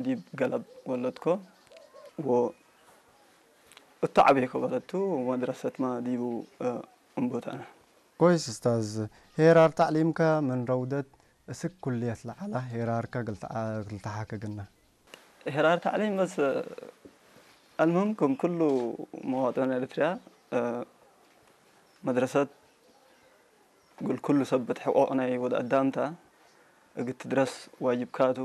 ዲብ ገለብ ወለድኮ ወ-፣ እቱ ዓብየኮ በለቱ መድረሰትማ ዲቡ፣ እ፣ እምቦታና። كويس أستاذ. ሄራር ታዕሊምካ ምን ረውደት እስክ ኩልየት ለዓላ ሄራርካ ግልተዓ-፣ ግልተሓከ ግና? ሄራር ታዕሊም በስ፣ አልሙህም ከም ኩሉ መዋጥን ኤርትርያ፣ እ፣ መድረሰት እግል ኩሉ ሰብ እት ሕቆቅ ናይ ወድ አዳምታ እግል ትድረስ ዋጅብካቱ።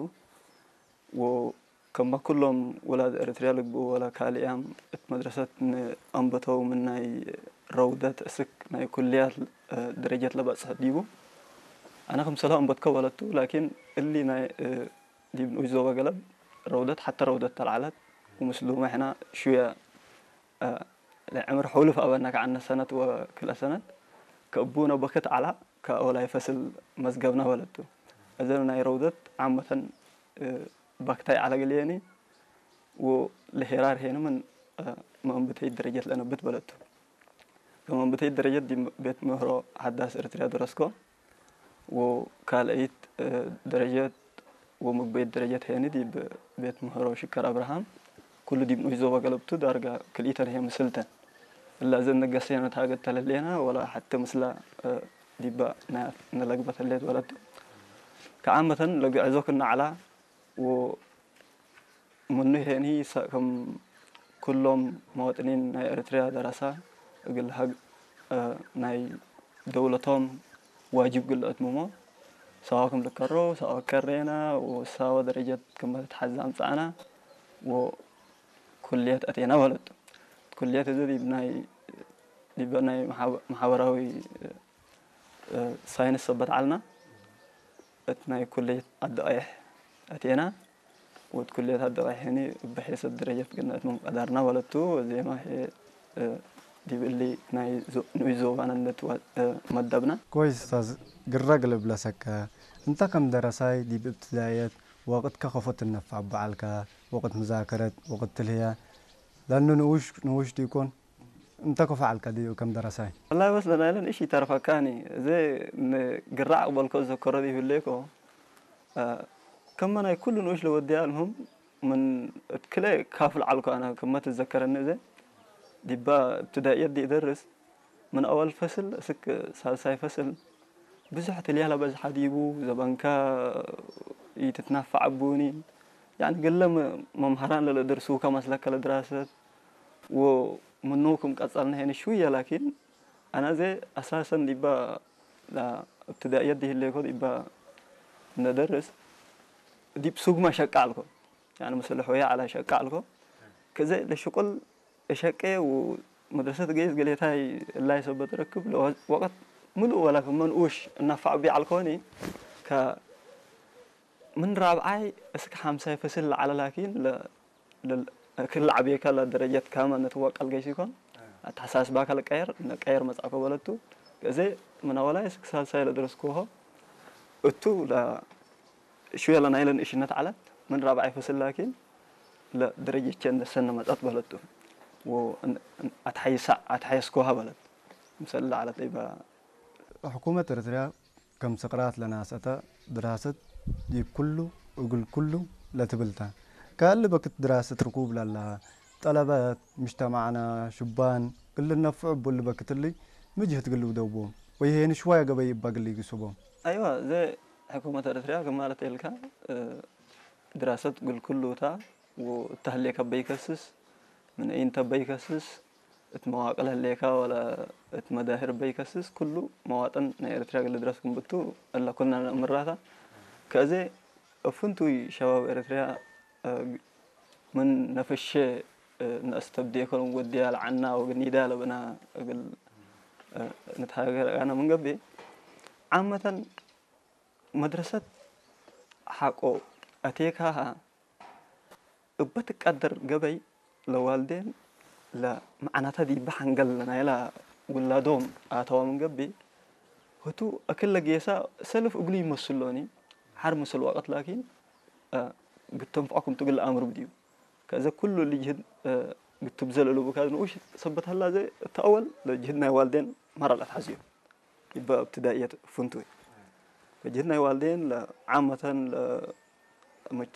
ወከማ ኩሎም ውላድ ኤርትርያ ልግብኡ ወላ ካልእ ያም እት መድረሰት ንአንበተው ምን ናይ ረውደት እስክ ናይ ኩልያት፣ እ፣ ደረጀት ለበጽሐ ዲቡ። አነ ክምሰልሁ አንበትከ ወለቱ፣ ላኪን እሊ ናይ፣ እ፣ ዲብ ንኡሽ ዞበ ገለብ ረውደት ሐተ ረውደት ተልዓለት ወምስሉመ ሕና ሽውየ እ፣ ለዕምር ሑሉፍ አበና ከዓነ ሰነት ወክልአ ሰነት ከእቡነ በክት ዐላ ከአወላይ ፈስል መዝገብና በለቱ። እዘን ናይ ረውደት ዓመተን፣ እ፣ ባክታይ ዐላ ግልየኒ ወለሄራር ሄኒ ምን፣ እ፣ መእንብተይ ደረጀት ለነብት በለቱ። ከመእንብተይ ደረጀት ዲብ ቤት ምህሮ ሐዳስ ኤርትርያ ደረስኮ። ወካልአይት፣ እ፣ ደረጀት ወምግበይት ደረጀት ሄኒ ዲብ ቤት ምህሮ ሽከር አብርሃም፣ ኩሉ ዲብ ንኡሽ ዞባ ገለብቱ ዳርጋ ክልኢተን ህየ ምስልተን። እላ እዘን ነገሰ ሄነ ታገት ተለሌና ወላ ሐቲ ምስላ፣ እ፣ ዲባ ናይ ነለግበት ህሌት ወለቱ። ከዓመተን ለግዕዞ ክና ዐላ ወ ምኑ ሄኒ ሰ-፣ ከም ኩሎም መዋጥኒን ናይ ኤርትርያ ደረሳ እግል ሀግ-፣ እ፣ ናይ ደውለቶም ዋጅብ ግልአት ምሞ ሰዋ ክም ልከሮ፣ ሰዋ ከሬና፣ ወሳወ ደረጀት ክም ተትሓዝ አምጻእና፣ ወኩልየት አቴና በለቱ። ኩልየት እዚ ዲብ ናይ፣ ዲበ ናይ መሓበ-፣ ማሕበራዊ፣ እ፣ ሳይንስ ሰበት ዐልና። እት ናይ ኩልየት አደቀይሕ አቴና። ወእት ኩልየት አደቀይሕ ሄኒ እብ ሔሰት ደረጀት ግና እት ምንቀዳርና በለቱ። ዜማ ሄ፣ እ፣ ዲብ እሊ ናይ ዞ-፣ ንኡሽ ዞባና እንድትወ-፣ እ፣ መደብና። كويس أستاذ. ግረግ ልብለሰከ፣ እንተ ከም ደረሳይ ዲብ እብትዳየት ወቅትከ ከፎ ትነፈዕ በዓልከ፣ ወቅት ምዛከረት፣ ወቅት ትልህያ፣ ለኑ ንኡሽ፣ ንኡሽ ዲኮን? እንተ ከፎ ዐልከ ድዩ ከም ደረሳይ? ወላሂ በስ ለናይለ ንእሽ ይተርፈካኒ። እዘ ንግራ አቅበልኮ ዘከሮ ይህሌኮ፣ እ፣ ከመ ናይ ኩሉ ንኡሽ ለወድያ አልሙህም ምን እት ክለ ካፍል ዐልኮ አነ ከመ ትዘከረኒ እዘ ዲባ እብትዳእየት ዲ እደርስ ምን አወል ፈስል እስክ ሳልሳይ ፈስል ብዙሕ ትልያላ በዝሓ ዲቡ ዘበንካ ኢትትናፈዕ አቡኒ። ያኒ ገለ መ-፣ መምሃራን ለለደርሱከ መስለከ ለድራሰት ወምኑ ክም ቀጸልነ ሄነ ሽውየ ላኪን አነ እዘ አሳሰን ዲባ ላ እብትዳእየት ዲህሌኮ ዲባ ነደርስ ዲብ ሱግማ ሸቃ አልኮ። ያኒ ምስል ሖያ ዐላ ሸቃ አልኮ። ከዘ ለሽቁል እሸቄ ወመድረሰት ገይስ ገሌታይ እላይ ሰበት ረክብ ለወ-፣ ወቀት ምሉእ ወላ ክመ ንኡሽ እናፋዕ ቢዕ አልኮኒ ከ ምን ራብዓይ እስክ ሓምሳይ ፈስል ለዓለ ላኪን ለ-፣ ለ-፣ ክል ዓብየካ ለደረጀት ካመ ነትወቀል ገይስ ይኮን አተሐሳስባካ ለቀየር ነቀየር መጽአኮ በለቱ። ከዘ ምን አወላይ እስክ ሳልሳይ ለደረስኩሆ እቱ ለ-፣ ሽወለ ናይለ ንእሽነት ዐለት ምን ራብዓይ ፈስል ላኪን ለደረጀቼ እንደሰነ መጸት በለቱ። ወ-፣ እን-፣ እን-፣ አትሐይሳ-፣ አትሐየስኮሃ በለት። ምሰል ለዐለት እባ ሕኩመት ኤርትርያ ከም ስቅራት ለናሰተ ድራሰት ዲብ ኩሉ እግል ኩሉ ለትብልተ። ከእሊ በክት ድራሰት ርኩብ ለላ ጠለበት ምጅተማዕና ሹባን እሊ ነፍዑ እቡ እሊ በክት እሊ ምጅህት ግል ውደቦም ወይሄኒ ሽዋይ ገበይ እባ ግል ይግስቦም። አይዋ፣ እዘ ሕኩመት ኤርትርያ ክማለት ኤልካ፣ እ፣ ድራሰት ግል ኩሉ እታ ወእተ ህሌከ በይከስስ፣ ምን ኢንተ በይከስስ፣ እት መዋቅል ህሌካ ወላ እት መዳህር በይከስስ፣ ኩሉ መዋጥን ናይ ኤርትርያ ግል ድረስ ክምብቱ እለ ኩልና ነእምራታ። ከእዜ እፍንቱይ ሸባብ ኤርትርያ፣ እ፣ ምን ነፍሼ፣ እ፣ ነእስተብዴ ከሎም ወድያ ለዓና ወግኒዳ ለበና እግል፣ እ፣ ንትሃገር አነ ምን ገብኤ ዓመተን መድረሰት ሐቆ አቴካሃ እበ ትቀደር ገበይ ለዋልዴን ለመዕናተ ዲበ ሐንገል ናይላ ውላዶም አተዋ ምን ገብእ፣ ህቱ እክለ ጌሳ ሰልፍ እግሉ ይመስሎኒ፣ ሐር ምስል ወቅት ላኪን፣ እ፣ ግተንፍዖ ክምቱ ግል አምር ብድዩ። ከዘ ኩሉ ልጅህድ፣ እ፣ ግትብዘል እሉ ብካዝ ንኡሽ ሰበት ሀላ ዘ እተአወል ለጅህድ ናይ ዋልዴን መራል አትሐዝዮ። ይበ እብትዳእየት ፍንቱይ። ከጅህድ ናይ ዋልዴን ለዓመተን ለመጅተ